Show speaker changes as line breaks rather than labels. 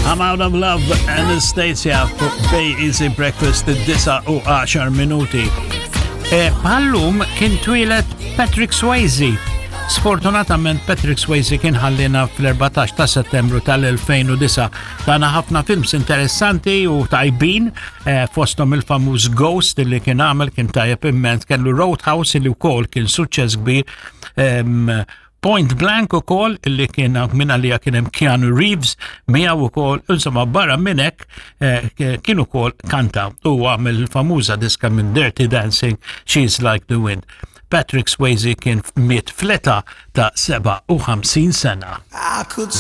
I'm Out of Love, Anastasia fuq Bay Easy Breakfast id-9 u 10 minuti. E, Bħallum kien twieled Patrick Swayze. Sfortunatament Patrick Swayze kien ħallina fl-14 ta' settembru tal-2009. Tana ħafna films interessanti u tajbin e, fostom il-famuż Ghost li kien għamel kien tajjeb immens, kellu Roadhouse li wkoll kien suċċess kbir. Point Blank ukoll li kien minn għalija kien hemm Keanu Reeves miegħu ukoll, insomma barra minn hekk eh, kien ukoll kanta u għamel famuża diska minn Dirty Dancing She's Like the Wind. Patrick Swayze kien miet fleta ta' 57 sena.